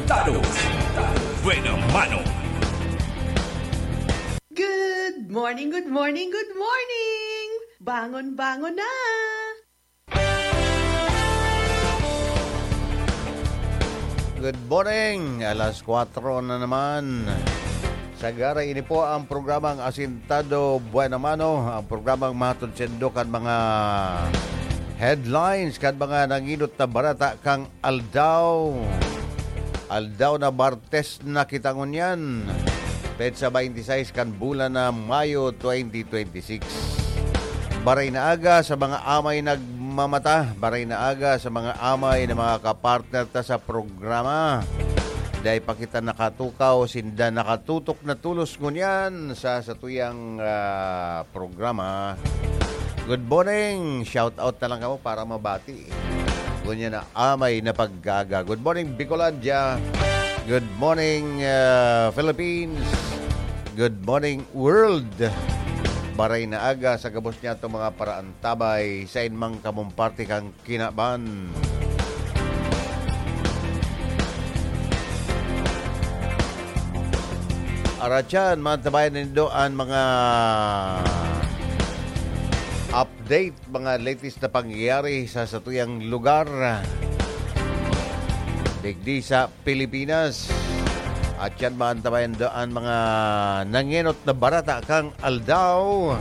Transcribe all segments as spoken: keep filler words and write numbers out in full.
Tado. Buena mano. Good morning, good morning, good morning! Bangon, bangon na! Good morning! Alas kwatro na naman. Sagara, ini po ang programang Asintado Buena Mano, ang programang mahatod sendo kan mga headlines, kan mga nanginot na barata kang aldaw. Aldaw na Martes na kita ngunyan. Petsa twenty-six kan bulan na Mayo twenty twenty-six. Baray na aga sa mga amay nagmamata, baray na aga sa mga amay na mga kapartner ta sa programa. Dai pa kita nakatukaw, sinda nakatutok na tulos ngunyan sa satuyang ah, programa. Good morning! Shout out na lang kamo para mabati. Ngunyan na amay na pagkaaga. Good morning, Bicolandia. Good morning, uh, Philippines. Good morning, world. Baray na aga sa gabos niya itong mga paraantabay sa inmang kamong parte kang kinaban. Aratyan, mantabayan nindo an mga update, mga latest na pangyayari sa satuyang lugar. Digdi sa Pilipinas. At yan, maantabayan daan mga nangenot na barata kang aldaw.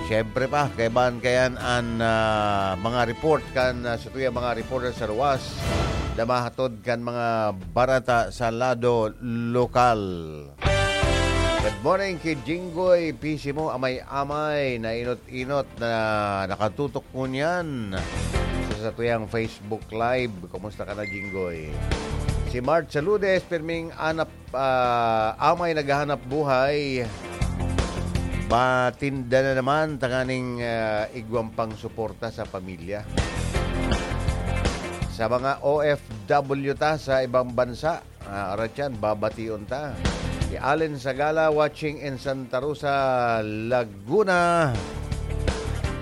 Siyempre pa, kaibahan kayan an ah, mga report kan ah, sa tuya mga reporter sa luwas na mahatod kan mga barata sa lado lokal. Good morning ki Jinggoy Pisimo, amay-amay na inot-inot na nakatutok ngunyan sa satuyang Facebook Live. Kumusta ka na, Jinggoy? Si Mart Saludes, pirming anap, ah, amay naghahanap buhay. Matinda na naman tanganing ah, igwang pang suporta sa pamilya. Sa mga O F W ta sa ibang bansa, Ah, arat yan, babation ta. Si Allen Sagala watching in Santa Rosa, Laguna.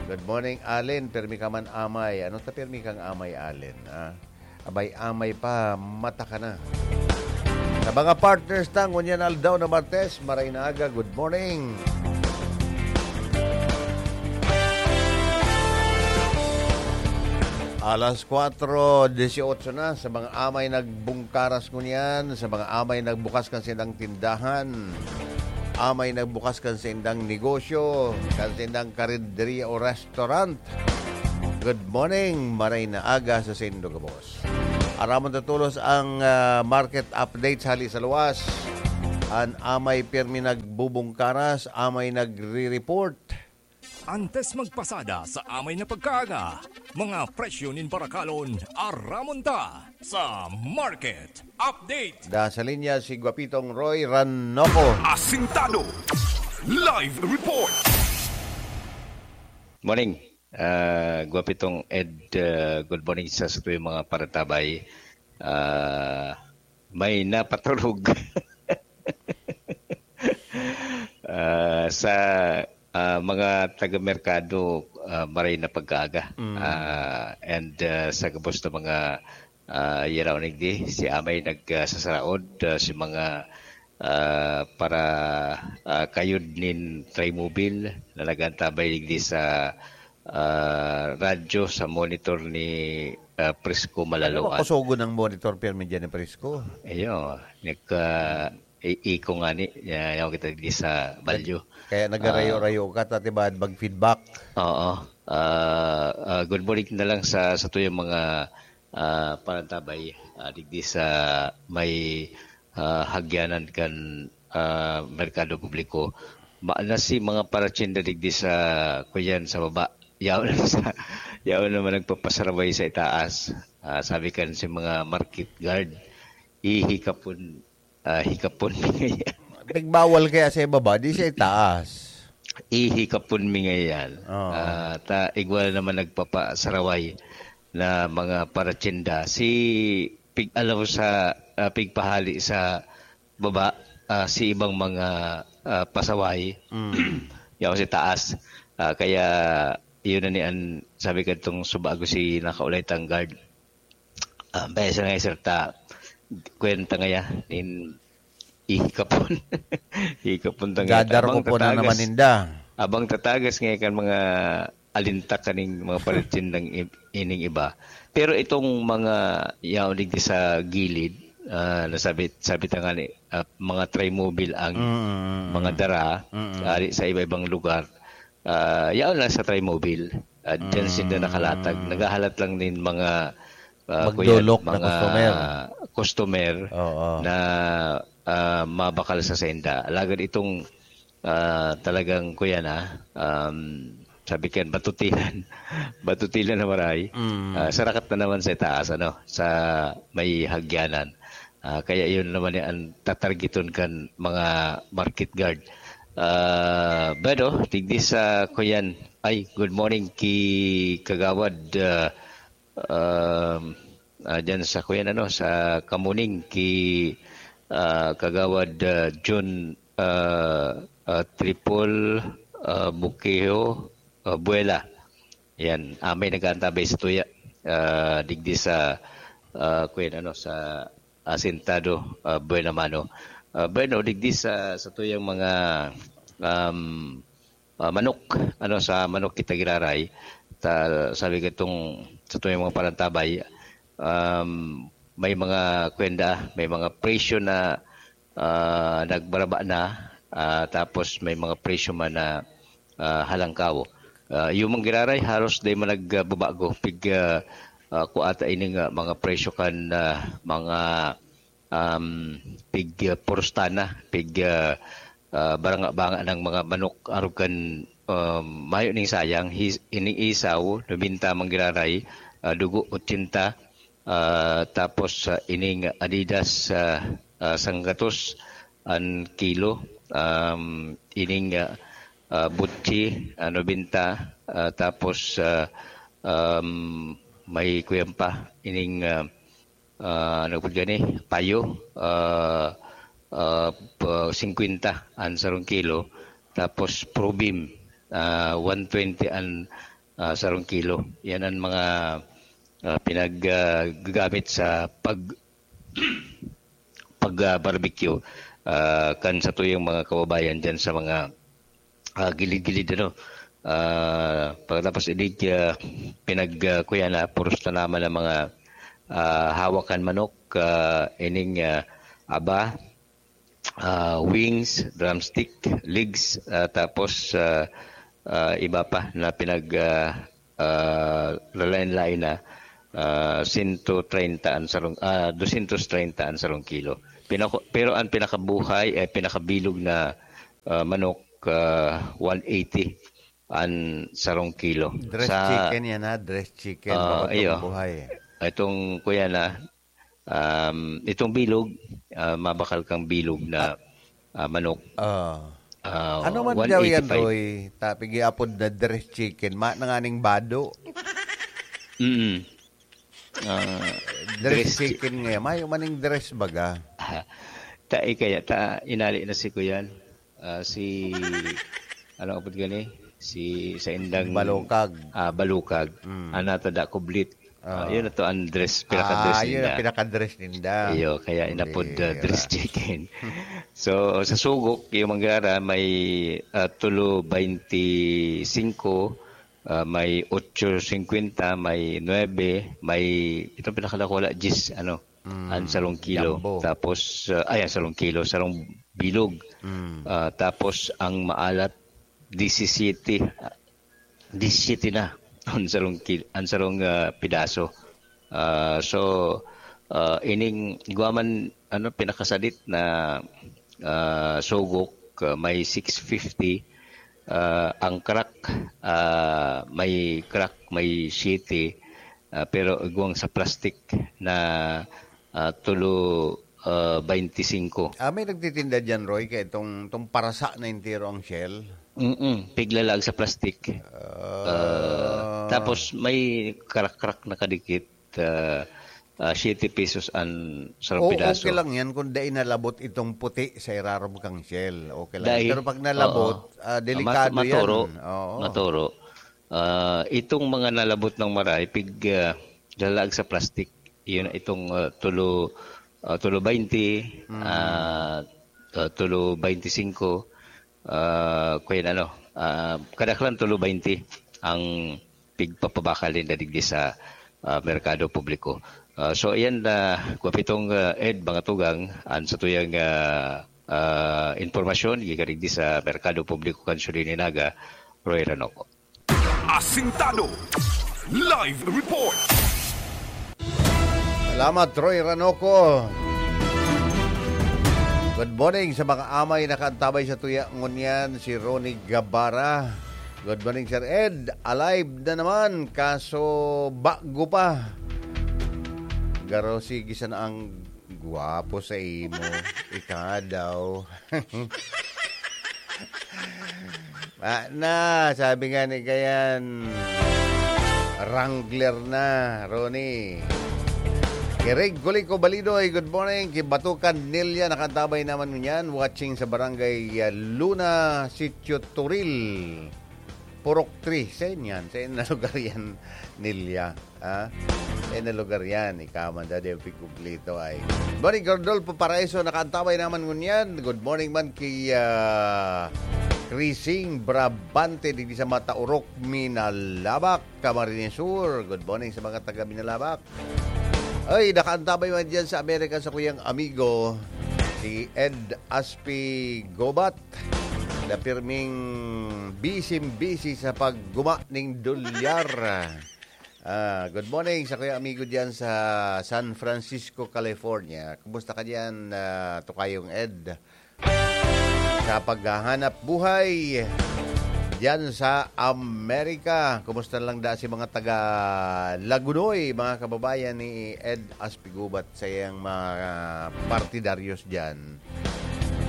Good morning, Allen. Pirmi ka man amay. Ano ta pirmi kang amay, Allen? Ah? Abay, amay pa, mata ka na. Sa mga partners ta, ngunyan aldaw na Martes, maray na aga, good morning. Alas kwatro dieciocho na sa mga amay nagbungkaras ngunyan, sa mga amay nagbukas kan sindang tindahan, amay nagbukas kan sindang negosyo, kan sindang karinderya o restaurant. Good morning, maray na aga sa saindo gabos. Aramon ta tolos ang ah, market updates hali sa luwas. An amay pirmi nagbubungkaras, amay nagre-report. Antes magpasada sa amay na pagkaaga, mga presyo nin barakalon, aramon ta sa Market Update. Da sa linya si Guapitong Roy Ranoco. Asintado. Live report. Morning. Ah, Guapitong Ed, ah, good morning sa satuyang mga paratabay. Ah, may napaturog. Ah, sa ah, mga taga-merkado, ah, maray na pagkaaga. Ah, and ah, sa gabos na mga ah, yaraw nigdi, si Amay nagsasaraod, ah, si mga ah, para ah, kayod nin Trimobile na nag-antabay digdi sa ah, radyo sa monitor ni ah, Prisco Malaloan. Kusogon ang monitor pirmi dyan ni Prisco. Iyo, nagka i- iko nga ni, ya- yaw kita di sa balyo. Kaya nagarayo-rayo ka, tati ba, mag-feedback? Oo. Ah, ah, good morning na lang sa sa tuyang mga ah, parantabay ah, digdi sa may ah, hagyanan kan ah, merkado publiko. Ma na si mga paratsinda digdi sa kuyan sa baba. Yaon na sa yaon naman nagpapasarabay sa itaas. Ah, sabi kan si mga market guard, ihikapon ah, hikapon mi ngayan. Nagbawal kaya sa ibaba, di sa itaas. Ihikapon mi ngayan. Oo. Ah, ta igwa naman nagpapasaraway na mga paratsinda. Si pig alaw sa ah, pigpahali sa baba, ah, si ibang mga ah, pasaway. Yaw si taas. Ah, kaya Iyo na ni an, sabi kadtong subago si nakaulay tang guard. Ah, baya sa nga, sir, ta, kwenta nga ya, nin ihikapon. Hikapon ta nga. Gadar Abang ko po na tatagas. naman ninda. Abang tatagas nga kan mga alintak kaning mga paritindang i-, ining iba. Pero itong mga yaon digdi sa gilid, ah, nasabi, sabi ta nga ni, ah, mga trimobile ang Mm, mm, mga mm. dara, Mm. ari sa iba-ibang lugar. Ah, yaon lang sa trimobile. Ah, diyan sila Mm. nakalatag. Naghahalat lang nin mga, ah, kuya, Magdolok na mga customer. customer Oo. na, ah, mabakal sa senda. Alagad itong, ah, talagang, kuya na, um, sabi kan, batutilan. Batutilan na maray. Mm. Ah, sarakat na naman sa taas, ano, sa may hagyanan. Ah, kaya yun naman yung ang tatargeton kan mga market guard. Ah, Bedo, digdi sa kuyan. Ay, good morning ki Kagawad, ah, um, ah, dyan sa kuyan, ano, sa Kamuning ki, ah, Kagawad, ah, Jun, ah, ah, Tripol, ah, Bukiho, ah, Buela. Yan, ah, may nag-aantabay sa tuya. Ah, digdi sa, ah, kuyan, ano, sa Asentado, ah, Buena Mano. Ah, bueno, digdi sa, sa tuyang mga, um, ah, manok, ano, sa manok kita giraray, ta, sabi katong sa tuyang mga parantabay, um, may mga kwenda, may mga presyo na, ah, nagbaraba na, ah, tapos may mga presyo man na, ah, halangkaw. Ah, yung mga giraray, halos di man nagbabago. Pig, ah, ah, kuata ining, ah, mga presyo kan, ah, mga, um, pig, ah, porostana, pig, ah, ah, baranga-banga ng mga manok, arog kan, um, mayo ning sayang, his-, ining isaw, nobenta man giraray, ah, dugo, ochenta, ah, tapos, ah, ining Adidas, ah, ah, sanggatos an kilo, um, ining, ah, ah, butsi, ah, nobenta, ah, tapos, ah, um, may kuyan pa, ining, ah, ah, ano po dyan eh, payo, ah, ah, pa-, singkwenta an sarong kilo, tapos probim, ah, one twenty an, ah, sarong kilo. Yan ang mga, ah, pinag, ah, gagamit sa pag, pag, ah, barbecue, ah, kan sa tuyang mga kababayan dyan sa mga, ah, gilid-gilid, ano. Ah, pagkatapos inig, ah, pinag, ah, kuya na, puros na naman ang mga, ah, hawakan manok, ah, ining, ah, aba, ah, wings, drumstick, legs, ah, tapos, ah, ah, iba pa na pinag, ah, ah, lalain-lain na, ah, sento treinta an sarong, ah, dosyentos treinta an sarong kilo. Pinako-, pero ang pinakabuhay, eh, pinakabilog na, ah, manok, ah, one eighty an sarong kilo. Dress Sa chicken yan, ha? Dress chicken, Ah, bako iyo. itong buhay. Itong, kuya na, um, itong bilog, ah, mabakal kang bilog na, ah, manok. Ah. Ah, Ano man daw yan, one eighty-five. Roy? Ta, pigiapod na dress chicken. Ma, nanganing bado. Mm. Ah, Dress dress chi- chicken ngayon. Mayo maning dress baga. Ta, eh, kaya, ta, inali na si Kuyan. Ah, si, ano apod gani? Si, sa indang Balukag. ah, Balukag. Mm. Ana ta da kublit. Ah, Ah. yun na to, ang dress, pinaka-dress Ah, yun ang nila. pinaka-dress ninda. Iyo, kaya inapod, Hindi, ah, dress ah. chicken. So, sa Sugok, yung manggara, may, ah, tulo baynti singko, ah, may otso singkwenta, may nuebe, may, itong pinakadakula, diyes, ano, Mm, ang sarong kilo. jumbo. Tapos, ah, ay, ang sarong kilo, sarong bilog. Mm. Ah, tapos, ang maalat, disisiyete, ah, disisiyete na ang sarong kil-, ang sarong, ah, pidaso. Ah, so, ah, ining igwa man, ano, pinakasadit na, ah, sugok, ah, may six fifty, ah, ang crack, ah, may crack, may siyete, ah, pero igwang sa plastic na, ah, tulo, ah, baynti singko. Ah, may nagtitinda diyan, Roy, kaya itong, itong parasa na entero ang shell? Mm-mm, piglalag sa plastic. Ah. Ah, tapos may karakrak na kadikit, ah, ah, siyete pesos ang sarong O, pidaso. okay lang yan kung dai nalabot itong puti sa irarom kang shell. Okay lang. Dai. Pero pag nalabot, Oo. ah, Ah, delikado mat-, maturo. yan. Oo. Maturo. Ah, itong mga nalabot ng maray, pig, ah, lalaag sa plastic. Yun, itong, ah, tulo, ah, tulo baynte, Mm. ah, ah, tulo baynte singko, ah, kaya ano, ah, kadaklan tulo baynte ang pigpapabakal ninda digdi sa, ah, merkado publiko. Ah, so, ayan na, Gwapitong, ah, Ed, mga tugang, an sa tuyang, ah, ah, impormasyon, gikan digdi sa merkado publiko kan Sudin Naga, Roy Ranoco. Asintado. Live report. Salamat, Roy Ranoco. Good morning sa mga amay nakaantabay sa tuya ngunyan, si Ronnie Gabara. Good morning, Sir Ed. Alive na naman, kaso bago pa. Garo, sige sana ang gwapo sa imo. Ika daw. Ah, na, sabi nga ni Kayan, Wrangler na, Ronnie. Ki Reg Kuliko Balidoy, good morning. Ki Batukan Nelia, nakaantabay naman ngunyan. Watching sa Barangay, ah, Luna, Sitio Turil. Purok three. Saan yan? Saan na lugar yan, Nelia? Ha? Saan na lugar yan? Ikaw man, Daddy, pigkuglito ay. Morning, Rodolfo Paraiso. Nakaantabay naman ngunyan. Good morning man ki, ah, Crising Brabante, digdi sa Mataurok, Minalabac, Camarines Sur. Good morning sa mga taga Minalabac. Ay, nakaantabay man dyan sa Amerika sa kuyang amigo, si Ed Aspi Gobat, na pirming busy-busy sa pagguma ning dolyar. Ah, good morning sa kuya amigo diyan sa San Francisco, California. Kumusta ka diyan, ah, Tokayong Ed? Sa paghahanap buhay diyan sa Amerika, kumusta lang da si mga taga Lagunoy, mga kababayan ni Ed Aspigubat sa iyang mga partidaryos diyan?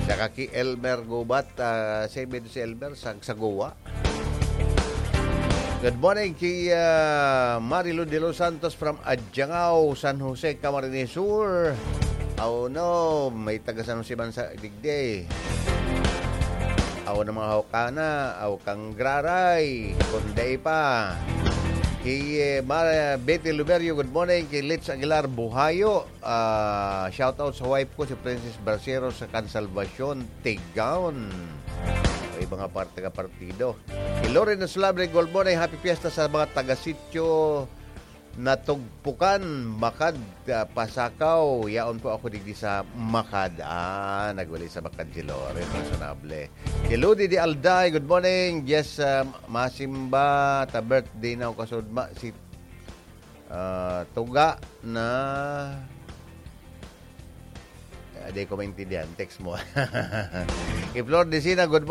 Saka ki Elmer Gubat, ah, si Med-, si Elmer, sa, sa Goa. Good morning ki, ah, Marilu de los Santos from Adjangao, San Jose, Camarines Sur. Oh no, may taga San Jose man sa digdi. Aw na mga hawkana, aw kang graray, kunday pa. Ki, eh, Mar-, Betty Luberio, good morning. Ki Litz Aguilar Buhayo, ah, shout out sa wife ko, si Princess Bracero sa Consalvacion, Tigaon. O, ibang aparte ka partido. Ki Loren Sulabre, good morning. Happy Fiesta sa mga taga-sitio Natugpukan, Makad, ah, Pasakaw. Yaon po ako digdi sa Makad. Ah, nagwali sa Makad si Loren. Personable. Ki Ludi di Alday, good morning. Yes, ah, masimba, ta birthday na ako kasudma. Si, ah, Tuga na, ah, di ko maintindihan. Text mo. Ki Flor Decina, good